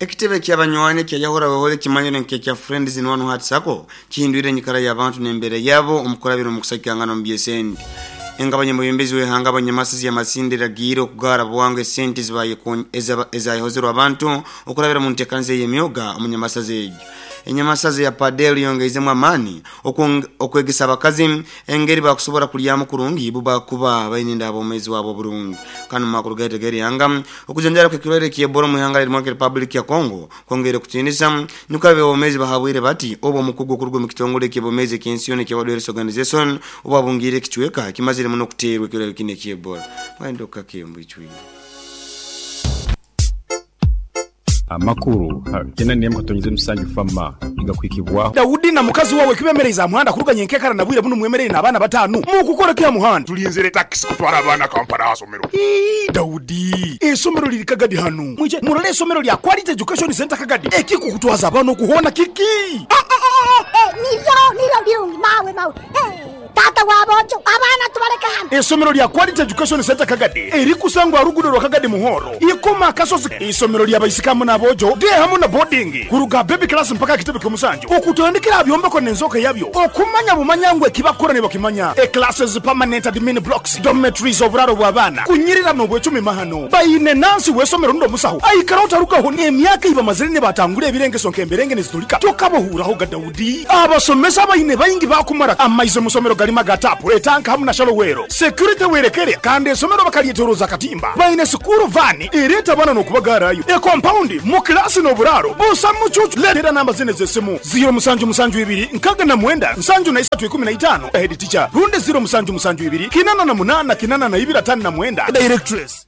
Ekitebe ky'abanywani ekya Yahura Wehole ekimanyirwe nk'ekya Friends in One Heart Sacco kihindwire enyikara y'abantu n'embeera yaabo omu kurabira omu kusagikangana omu by'esente. Engabanya omwebembezi w'eihanga Abanyamasizi ya Masindi eragiire okugaara bwangu esente ezayehozerwe abantu okurabira omu nteekaniza ey'emyoga omu nyamasaza egyo. Enyamasaza eya Padel yongeizemu amaani okwegesa abakazi engeri bakusobora kulyamu kurungi bubakuba baine enda habwomezi bwabo oburungi. Kandi mumakuru gaitu ag'erihanga, okujanjara kw'ekirwaire ki Ebola omu ihanga erya Republic ya Congo kwongeire kutiinisa, nikwo ab'ebyoomezi bahabwire bati obu omukugu okuruga omu kitongole eky'ebyoomezi eky'ensi yoona ekya World Health Organization obu abungiire ekicweka kimazire muno kuteerwa ekirwaire kinu ekya Ebola. Mwayenda okukake mbwicwire. Amakuru kyenda n'emwe katonyeza emusanju Fama nigakuhikibwaho. Daudi na mukazi wawe kibemereize aha muhanda kuruga nyenkekara na bwire bunu mwemereire n'abaana batanu. Mukukora ki aha muhanda? Tulinzire takisi kutwara abaana Kampala aha somero. Ii, Daudi, eisomero liri Kagadi hanu. Mwije murole eisomero lya Quality Education Centre Kagadi. Ekikukutwaza abaana oku hoona kiki? Niryo, niryo birungi mawe, mawe. Taata wa boojo, abaana tubaleke hanu. Eisomero lya Quality Education Centre Kagadi erikusangwa aha ruguudo rwa Kagadi Muhoro, Ikoma Akasozi. Eisomero lya baisiki hamu n'aboojo, day hamu na boarding, kuruga aha baby class mpaka aha kitebe ky'omusanju, okutandikira aha byombeko n'enzooka yabyo, okumanya bumanya ngu eki bakukora nibakimanya. E Classes, permanent admin blocks, dormitories, oburaaro bw'abaana, kunyirira n'obwecumi mahano. Baine nansi w'eisomero rundi omusaho aikara otarugaho n'emyaka ei bamazire nibatangura ebirengeso nk'emberenge nizitulika tokabahuuraho ga Daudi. Abasomesa abaine baingi baakumara amaizi omu somero garimu aga taapu, etanka hamu na shallow well. Security werekere kandi esomero bakaryetoroza akatimba. Baine sikuuru vaani ereeta abaana n'okubagaarayo. Ekompaundi mu kilaasi n'oburaaro busa mucuucu. Leetera namba zinu ez'esimu, ziiro musanju musanju ibiri nkaga na mwenda nsanju na isatu ikumi na itaano, Head teacher, rundi ziiro musanju musanju ibiri kinana na munaana kinana na ibiri atano na mwenda, Directress.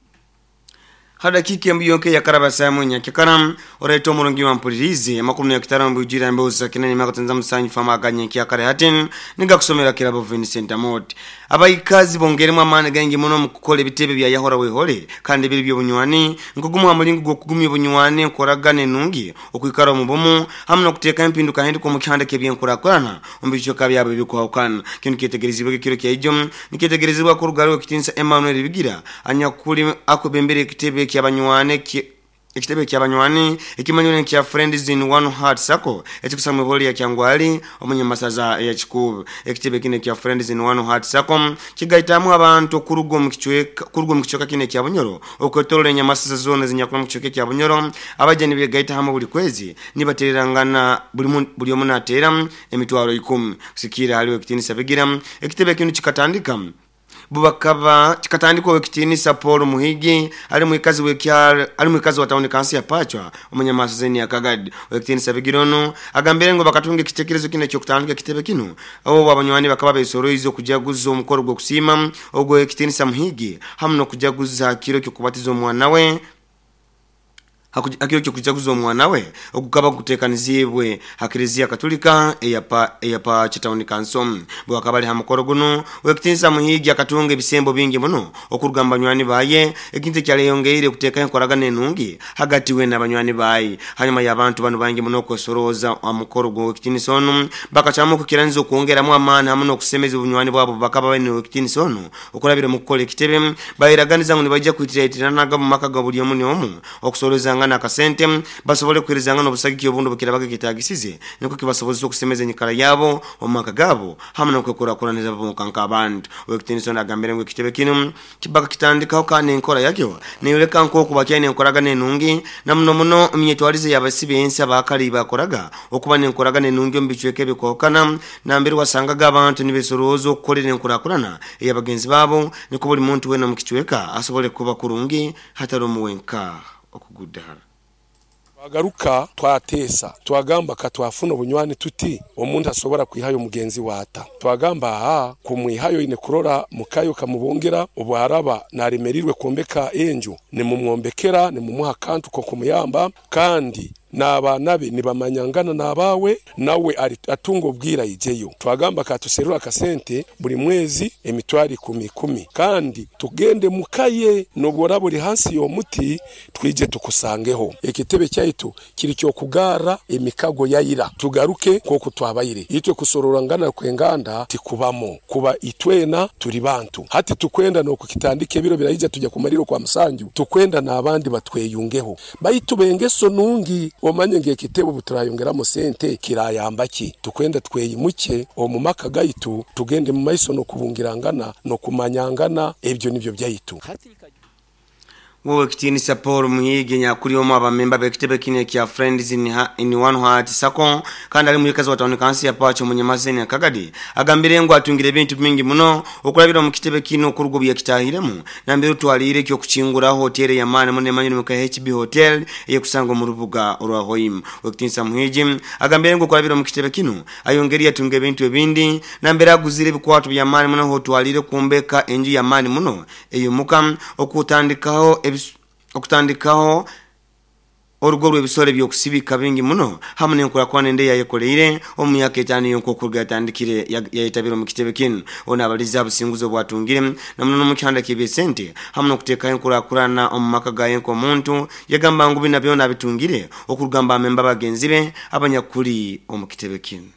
Ha dakiika embu yonka eyakaraba esaaha emwe nyakyakara, oraita omurungi wampuririize amakuru n'ekitara omu bwijwire aha mbeho za kinani emyaka musanju famu aga nyenkyakare hati nigakusomera Kirabo Vincent Amooti. Abaikazi bongeiremu amaani gaingi muno omu kukora ebitebe bya Yahora Wehole kandi ebiri by'obunywani nk'ogumu ha mulingo gw'okugumya obunywani, enkoragana enungi, okwikara omu bumu hamu n'okuteekaho empindukahinduka omu kihanda ky'eby'enkurakurana omu bicweka byabo ebikwahukana. Kinu kyetegerezibwege ekiro kya ijo nikyetegerezibwa kuruga hali Owekitinisa Emmanuel Bigira anyakuli akwebembera ekitebe ky'abanywani ekitebe ky'abanywani ekimanyirwe nkya Friends in One Heart Sacco ekikusangwa mw'ibolo lya Kyangwali omu nyamasaza ya Kikuube. Ekitebe kinu ekya Friends in One Heart Sacco kigaitamu abantu okuruga omu kicweka kuruga omu kicweka kinu ekya Bunyoro okwetoroora enyamasaza zoona ezinyakuli omu kicweka ekya Bunyoro. Abaija nibegaita hamu buli kwezi nibateererangana buli buli omu nateera emitwaro ikumi. Kusikiira hali Owekitinisa Bigira, ekitebe kinu kikatandika Bubakaba kikatandikwa Owekitinisa Paul Muhigi ali mwikazi w'ekyaro ali mwikazi wa tawuni kanso ya Pachwa omu Nyamasaza ya Kagadi. Owekitinisa Bigira onu agambire ngu bakatunga ekitekerezo kinu eky'okutandika ekitebe kinu obu abanywani bakaba besoroize okujaguza omukoro gw'okusiima ogw'Owekitinisa Muhigi hamu n'okujaguza ha kiro ky'okubatiza omwana we Ha kiro ky'okujaguza omwana we ogukaba guteekaniziibwe ha Klezia Katulika eya eya Pace Town Council. Bwakaba ali ha mukoro gunu, Ow'ekitiinisa Muhiigi akatunga ebisembo bingi muno okuruga mu banywani baye, ekintu ekyaleyongeire kuteekaho enkoragana enungi hagati we n'abanywani baye. Hanyuma y'abantu banu baingi muno okwesorooza ha mukoro gw'Ow'ekitiinisa onu, bakacwamu okukiraniza okwongeramu amaani hamu n'okusemeza obunywani bwabo obubakaba baine n'Ow'ekitiinisa onu. Okurabira omu kukora ekitebe, bairaganiza ngu nibaija kwitiraitirananaga omu maka ga buli omu n'omu, okusorozangana akasente, basobole kuheerezangana obusagiki obundi obukirabaga kyetaagisize, nukwo kibasobozese okusemeza enyikara yabo omu maka gaabo hamu n'okwekurakuraniza bonka nk'abantu. Ow'ekitiinisa onu agambire ngu ekitebe kinu bakakitandikaho kandi enkora yakyo neyoleka nk'oku bakyaine enkoragana enungi na muno muno emyetwarize y'abasi b'ensi abaakara ei baakoraga okuba n'enkoragana enungi omu bicweka ebikwahukana nambere wasangaga abantu nibesorooza okukolera enkurakurana ey'abagenzi baabo nukwo buli muntu weena omu kicweka asobole kuba kurungi hataromu wenka okugudahara. Twagaruka twateesa, twagamba ka twafuna obunywani tuti, omuntu asobora kwihayo mugenzi we ata? Twagamba aa, kumwihayo oine kurora mukayo okamubungira, obu araba naremerirwe kwombeka enju, nimumwombekera, nimumuha akantu k'okumuyamba, kandi. N'abaana be nibamanyangana n'abaawe, nawe atunga obwire aijeyo. Twagamba ka tuserure akasente buri mwezi emitwaro ikumi ikumi kandi tugende muka ye n'obu oraba ori hansi y'omuti twije tukusangeho. Ekitebe kyaitu kiri ky'okugarra emikago ya ira tugaruke nk'oku twabaire. Itwe kusororangana kw'enganda tikubamu kuba itwena turi bantu. Hati tukwenda n'okukitandika ebiro biraija tujya kumalira okwa musanju tukwenda n'abandi batweyungeho. Baitu b'engeso nungi, omanye ngu ekitebe obu turayongeramu sente kirayamba ki? Tukwenda tweyimukye omu maka gaitu tugende mu maiso n'okubungirangana n'okumanyangana ebyo nibyo byaitu. Ow'ekitiinisa Paul Muhiigi nyakuri omu abamemba b'ekitebe kinu ekya Friends in, in One Heart Sacco kandi ali mwikazi wa tawuni kansi ya Pacho Munyamaseni Akagadi agambire ngu atungire ebintu bingi muno okurabira omu kitebe kinu okuruga obu yakitahiremu nambere otwaliire eky'okukinguraho hoteeri ey'amaani muno emanyirwe nka HB Hotel eyekusangwa omu rubuga orwa Hoima. Ow'ekitiinisa Muhiigi agambire ngu okurabira omu kitebe kinu ayongeri yatunga ebintu ebindi nambere aguzire ebikwato by'amaani muno hotwaliire kwombeka enju y'amaani muno ey'omuka okutandikaho okutandikaho orugo rw'ebisoro eby'okusibika bingi muno hamu n'enkurakurana endi eyayekoleire omu myaka etaano yonka okuruga yatandikire yayetabire omu kitebe kinu. Ono abalize ha businguzi obwatungire na muno n'omu kihanda ky'ebyesente hamu n'okutekaho enkurakurana omu maka gaye nk'omuntu. Yagamba ngu bina byona abitungire okuruga mu bamemba bagenzi be abanyakuli omu kitebe kinu.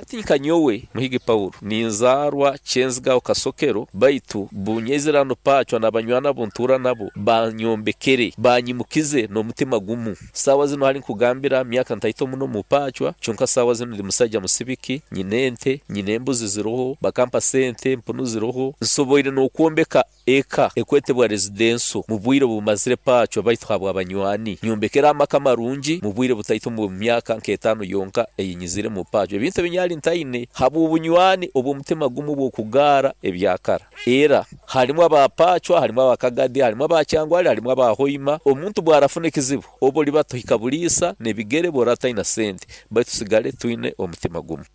Hati nka nyowe, Muhigi Paulo, ninzaarwa Kyenzigaho Kasokero, baitu bunyaizire hanu Paacwa n'abanywani abu ntuura nabo baanyombekere, baanyimukize n'omutima gumu. Saawa zinu hali nkugambira, myaka ntaito muno omu Paacwa, kyonka saawa zinu ndi musaija musibiki, nyine ente, nyine embuzi ziroho, bakampa sente, empunu ziroho, nsoboire n'okwombeka Eka ekwetebwa residenso mu bwire obu mazire paacwa baitu habwa banywani. Nyombekere amaka marungi mu bwire butaito omu myaka nk'etaano yonka ei nyizire mu paacwa. Ebintu ebi nyali ntaine habw'obunywani obw'omutima gumu obw'okugaara ebyakara. Era harimu aba paacwa, harimu aba Kagadi, harimu aba Kyangwali, harimu aba Hoima. Omuntu bwarafuna ekizibu, obu oriba tohika buriisa n'ebigere bworaba otaina sente. Baitu tusigale twine omutima gumu.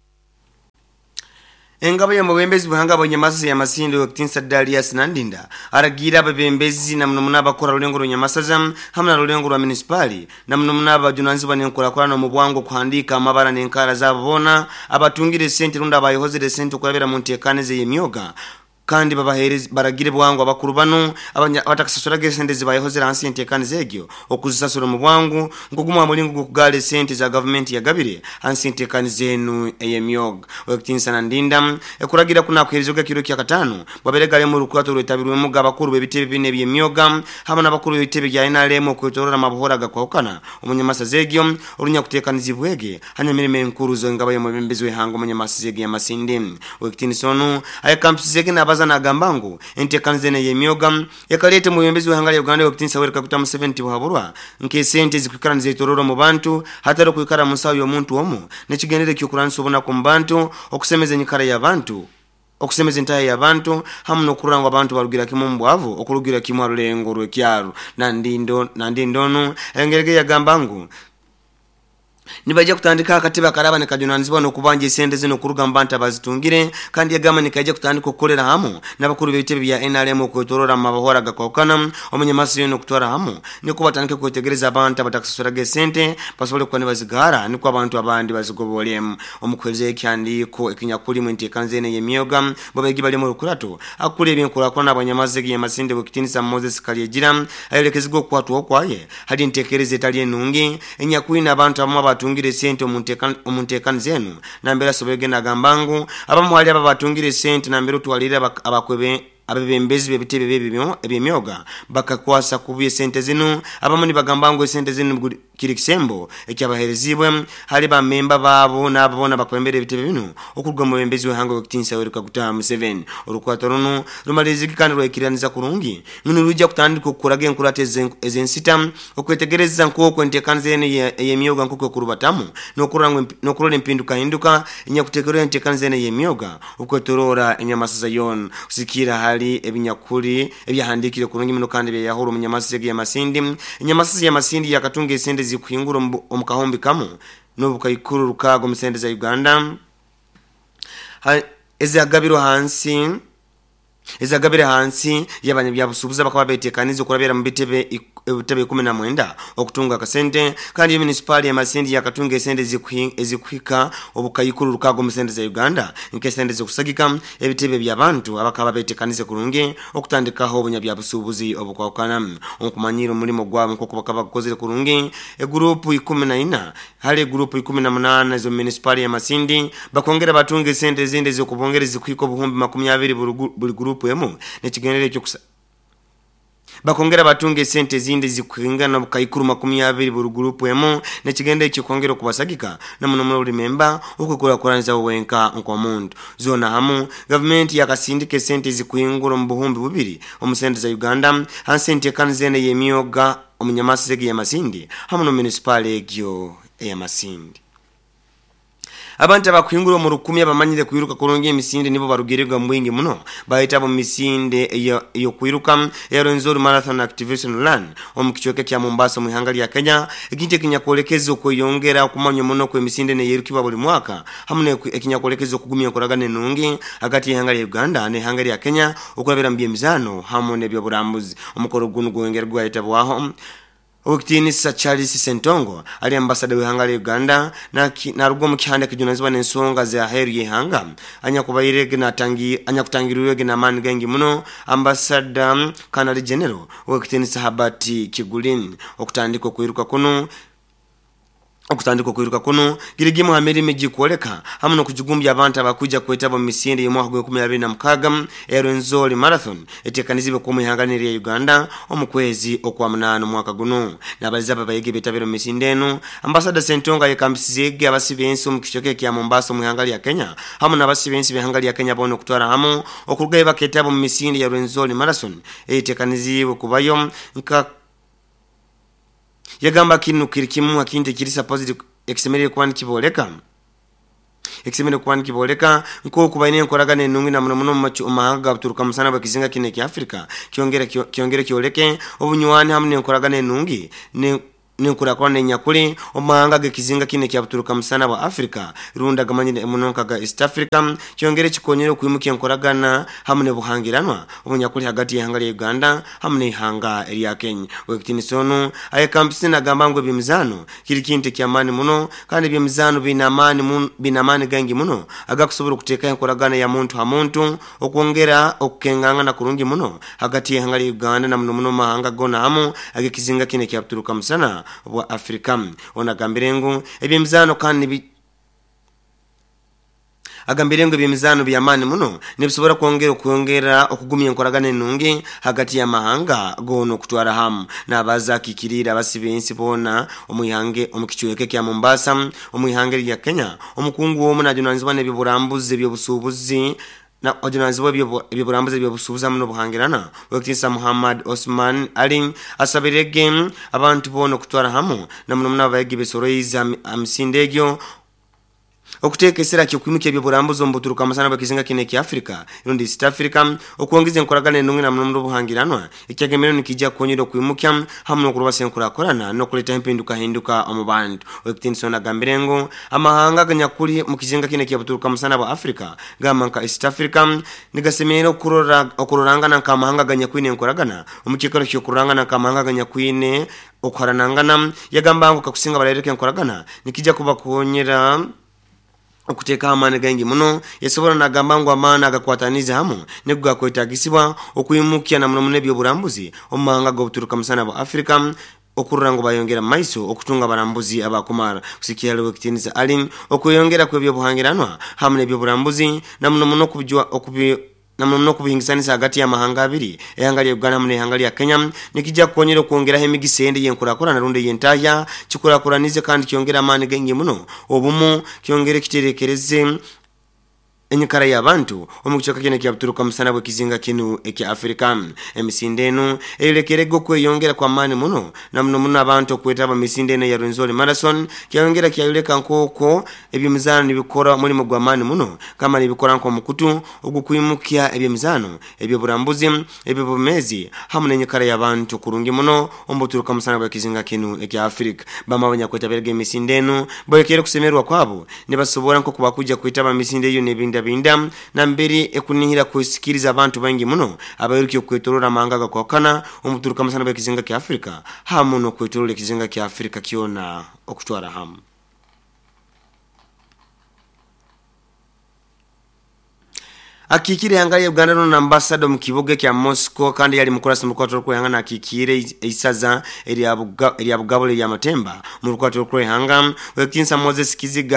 Engabo y'omubembezi w'ihanga bw'Enyamasaza ya Masindi Ow'ekitinisa Darius Nandinda aragiire abebembezi na muno muno abakora rulengo rw'Enyamasaza hamu na rulengo rwa Munisipaali na muno muno abajunanizibwa n'enkurakurana omu bwangu okuhandiika amabara n'enkaara zaabo boona abatungire esente rundi abayehozire esente okurabira mu nteekaniza ey'emyoga Kandi babaheereze, baragire bwangu abakuru banu abatakasasuraga esente ezi bayehozere hansi y'enteekaniza egyo okuzisasura omu bwangu nk'ogumu aha muringo gw'okugaara esente eza gavumenti yagabire hansi y'enteekaniza enu ey'emyoga. Ow'ekitiinisa Nandinda ekuragira ku nakuheerezibwa ekiro kyakataano bwabaire gari omu rukurato orwetabirwemuga abakuru b'ebitebe bina eby'emyoga hamu n'abakuru b'ebitebe bya nrm okwetoroora amabuhoro agakwahukana omu nyamasaza egyo orunyakuteekanizibwege Hanyuma emirimo enkuru z'engabo y'omwebembezi w'ihanga omunyamasizi egi Masindi. Ow'ekitiinisa onu ayekampisizege naabaza naagamba ngu enteekaniza enu ey'emyoga ekaleeta omwebembezi w'ihanga lya Uganda Ow'ekitiinisa Yoweri Kaguta Museveni tibuhaburwa nk'esente ezikwikara nizetorora omu bantu hatari okwikara mu nsaho y'omuntu omu n'ekigendererwa eky'okurwanisa obunaku omu bantu, okusemeza enyikara y'abantu. Okusemeza entahya y'abantu hamu n'okurora ngu abantu barugira kimu omu bwavu okurugira kimu ha rulengo rw'ekyaro. Nandinda onu ayongerege yagamba ngu nibaija kutandikaho akatebe akaraaba nikajunanizibwa n'okubanja esente zinu kuruga mu bantu abazitungire kandi yagamba nikaija kutandika okukorera hamu n'abakuru b'ebitebe bya nrm okwetorora mu mabahora agakwahukana omu nyamasaza yoona okutwara hamu nikwo batandike kwetegereza abantu abatakasasuraga esente basobole kuba nibazigaara nikwo abantu abandi bazigobole. Omu kuheereza ekihandiiko ekinyakurimu enteekaniza enu ey'emyoga, bo beegi bali omu rukurato akukura eby'enkurakurana habw'enyamasaza egi y'amasinde Ow'ekitiinisa Moses Kalyegira ayolekezibwa okukwatwaho kwaye hali enteekereza etali enungi enyakwine abantu abamu abatungire esente omu nteekaniza enu nambere asoboire nagamba ngu abamu hali abo abatungire esente nambere otwaliire abebembezi b'ebitebe eby'emyoga bakakwasa kubi esente zinu. Abamu nibagamba ngu esente zinu kiri kisembo ekyabahereziibwe hali ba memba baabo n'abo boona abakwembera ebitebe binu okuruga omu mwebembezi w'ihanga ow'ekitiinisa Yoweri Kaguta Museveni. Orukwato runu rumalirizigi kandi rwaikiraniza kurungi ngu nirwija kutandika okukoraga enkurato ez'ensita okwetegereza nk'oku enteekaniza enu ey'emyoga nk'oku ekurubatamu n'okurora empindukahinduka enyakuteekerweho enteekaniza enu ey'emyoga Okwetoroora enyamasaza yoona, kusigikiirra hali ebinyakuli ebyahandiikire kurungi muno kandi ebyayahurwa omu nyamasaza egi ey'amasindi. Enyamasaza y'amasindi yakatunga esente ezikuhingura omu kahumbi kamu n'obukaikuru rukaaga omu sente za Uganda ezagabirwe hansi ezagabire hansi y'abanyabyabusuubuzi abakaba betekaniize okurabira mu bitebe. ebitebe 19 okutunga akasente kandi yo munisipaali ya Masindi yakatunga esente ezikuhika obukaikuru 6 mu sente za Uganda nk'esente z'okusagika ebitebe by'abantu abakaba betekanize kurungi okutandikaho obunyabyabusuubuzi obukwahukana. Okumanyira omulimo gwabo nk'oku bakaba bagukozire kurungi, eguruupu 14 hali eguruupu 18 ez'omu munisipaali ya Masindi bakongera batunga esente ezindi ez'okubongera ezikuhika obuhumbi 20 buli guruupu emu n'ekigendererwa eky'okusa Bakongera batunga esente ezindi ezikuhingana obukaikuru 20 buri guruupu emu n'ekigendererwa eky'okwongera okubasagika na muno muno buri memba okwekurakuraniza we wenka nk'omuntu. Zoona hamu, gavumenti yakasindika esente ezikuhingura omu buhumbi bubiri omu sente za Uganda hansi y'enteekaniza enu ey'emyoga omu nyamasiza egi eya Masindi hamu n'omu munisipaali egyo eya Masindi. Abantu abakuhingura omu rukumi abamanyire kwiruka kurungi emisinde nibo barugirege omu bwingi muno bayetaba omu misinde ey'okwiruka eya Rwenzori Marathon Activation Run omu kicweka ekya Mombasa omu ihanga lya Kenya, ekintu ekinyakwolekeza okweyongera okumanywa muno kw'emisinde enu eyerukibwa buli mwaka hamu ekinyakwolekeza okugumya enkoragana enungi hagati y'ihanga lya Uganda n'ihanga lya Kenya okurabira mu by'emizaano hamu n'eby'oburambuzi. Omukoro gunu gwongera gwayetabwaho Owekitiinisa Charles Ssentongo ali ambasada w'ihanga lya Uganda naruga omu kihanda ekijunanizibwa n'ensonga z'aheeru y'ihanga anyakubairege anyakutangirirwege n'amaani gaingi muno Ambasada Kanali General Owekitiinisa Herbert Kiguli. Okutandika okwiruka kunu Okutandika okwiruka kunu giri gimu ha mirimo egikwoleka hamu n'okujigumbya abantu abakwija kwetaba omu misinde y'omwaka gwa 2026 eya Rwenzori Marathon etekanizibwe kuba omu ihanga linu erya Uganda omu kwezi okwa munaana omwaka gunu. Nabaliza abo abayegi betabire omu misinde enu, Ambasada Ssentongo ayekambisizeege abasi b'ensi omu kicweka ekya Mombasa omu ihanga lya Kenya hamu n'abasi b'ensi b'ihanga lya Kenya boona okutwara hamu okurugayo baketaba omu misinde ya Rwenzori Marathon eyetekaniziibwe kubayo nka Yagamba kinu kiri kimu ha kintu ekiri supposed ekisemeriire kuba nikibooleka ekisemeriire kuba nikibooleka nk'oku baine enkoragana enungi na muno muno omu mahanga ga buturuka musana bw'ekizinga kinu ekya Afrika. Kyongere kyongere kyoleke obunywani hamu n'enkoragana enungi ne n'enkurakurana enyakuli omu mahanga ag'ekizinga kinu ekya buturuka musana bwa Afrika rundi agamanyire muno nka ga East Africa. Kyongere kikonyere okwimukya enkoragana hamu n'obuhangiranwa obunyakuli hagati y'ihanga lya Uganda hamu n'ihanga erya Kenya. Ow'ekitiinisa onu ayekambisize nagamba ngu eby'emizaano kiri kintu eky'amaani muno kandi eby'emizaano biine amaani biine amaani gaingi muno agakusobora okuteekaho enkoragana ya muntu ha muntu, okwongera okukengangana kurungi muno hagati y'ihanga lya Uganda na muno muno omu mahanga goona hamu ag'ekizinga kinu ekya Buturuka Musana bwa Afrika. Onu agambire ngu eby'emizaano kandi Agambire ngu eby'emizaano by'amaani muno nibisobora kwongera okwongera okugumya enkoragana enungi hagati y'amahanga goona okutwara hamu. Nabaza akiikiriire abasi b'ensi boona omu ihanga omu kicweka ekya Mombasa omu ihanga erya Kenya. Omukungu omu najunanizibwa n'eby'oburambuzi, eby'obusuubuzi na ojunanizibwa eby'oburambuzi, eby'obusuubuzi hamu n'obuhangirana Owekitiinisa Muhammad Osman Ali asabirege abantu boona okutwara hamu na muno muno abayegi besoroize ha misinde egyo Okuteeka esira ky'okwimukya eby'oburambuzi omu buturuka musana bw'ekizinga kinu ekya Africa rundi East Africa, okwongeza enkoragana enungi na muno muno obuhangiranwa, ekyagemerero nikiija kukonyera okwimukya hamu n'okurubasa enkurakurana n'okuleetaho empindukahinduka omu bantu. Owekitiinisa onu agambire ngu amahanga aganyakuli mu kizinga kinu ekya buturuka musana bwa Africa gamba nka East Africa nigasemerire okurora okurorangana nk'amahanga aganyakwine enkoragana omu kiikaro ky'okurorangana nk'amahanga aganyakwine Okuharanangana, yagamba ngu kakusinga barayoleka enkoragana nikija kubakonyera okuteekaho amaani gaingi muno. Yasobora nagamba ngu amaani agakwataniize hamu nigo gakwetagisibwa okwimukya na muno muno eby'oburambuzi omu mahanga g'obuturuka musana bwa Afrika okurora ngu bayongera mu maiso okutunga abarambuzi abakumara. Kusikiira hali Owekitiinisa Ali, okweyongera kw'eby'obuhangiranwa hamu n'eby'oburambuzi na muno muno okubi Na muno muno okubihingisanisa hagati y'amahanga abiri, eihanga lya Uganda hamu n'eihanga lya Kenya, nikija kukonyera okwongeraho emigisa endi ey'enkurakurana rundi ey'entahya, kikurakuranize kandi kyongere amaani gaingi muno, obumu, kyongere kiterekereze enyikara y'abantu omu kicweka kinu ekya buturuka musana bw'ekizinga kinu ekya Afrika. Emisinde enu eyolekerege okweyongera kw'amaani muno na muno muno abantu okwetaba mu misinde enu eya Rwenzori Marathon, kyayongera kyayoleka nk'oku eby'emizaano nibikora omulimo gw'amaani muno kama nibikora nk'omukutu ogw'okwimukya eby'emizaano, eby'oburambuzi, eby'obumeezi hamu n'enyikara y'abantu kurungi muno omu buturuka musana bw'ekizinga kinu ekya Afirika. Bamu abanyakwetabiraga emisinde enu bolekeire okusemererwa kwabo nibasobora nk'oku bakwija kwetaba mu misinde eyo n'ebindi. okubindabinda nambere ekunihira kusikiriza abantu baingi muno abairukire okwetorora amahanga agakwakana omuturuka amasana bw'ekizinga kya Afrika hamu n'okwetorora ekizinga kya Afrika kyona okutwara hamu. Akikiire ihanga lya Uganda nono ambassador omu kibuga ekya Moscow kandi yali mukurasi mu rukwata rw'okwehanga nakikiire eisaza erya Bugabula erya Matemba mu rukwata rw'okwehanga Wekinsa Moses Kiziga.